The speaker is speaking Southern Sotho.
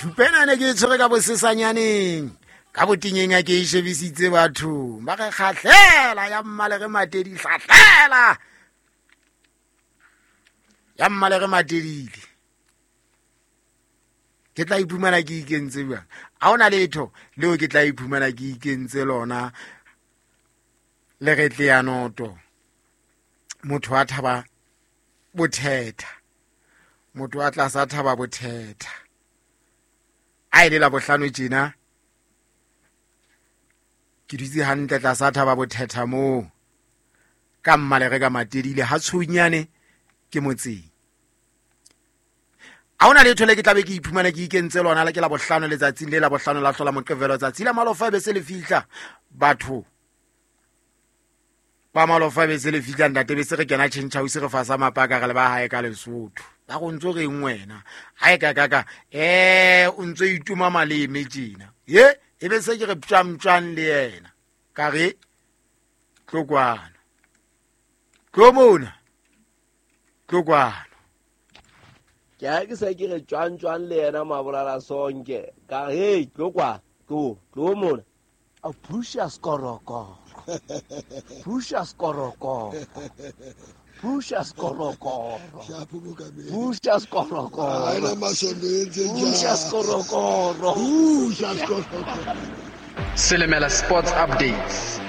Thupena ne ke e tshwere ka bosesanyaneng, ka botinyeng a ke e shebisitse bathong ba re kgahlela ya mmalere matedi, hlahlela ya mmalere matedile. Ke tla iphumana ke ikentse jwang? Ha hona letho leo ke tla iphumana ke ikentse lona. Le re tle ya noto, motho a thaba bothetha, motho a tlasa thaba bothetha. A ile la bohlano tjena ke dutse hantle tlasa thaba bothetha moo ka mmalere ka matedile ha tshunyane ke motseng. Ha hona letho le ke tlabe ke iphumana ke ikentse lona. Le ke la bohlano, letsatsing le la bohlano la hlola Moqebelo, tsatsi la malofa be se le fihla. Batho ba malofa be se le fihla, ntate, be se re kena change house, re fasa mapaka, re le ba hae ka Lesotho. Ba go ntso reng wena hae ka ka o ntso ituma maleme tjena ye e be se ke re ptjang le yena ka re tlo kwano, tlo mona, tlo kwano. Ke ha ke se ke re tjwang tjwang le yena mabolala sonke ka re hey, tlo kwa, tlo tlo mona. A phusha skorokoro, phusha skorokoro, phusha skorokoro, phusha skorokoro, phusha skorokoro, phusha skorokoro. Selemela Sports Updates.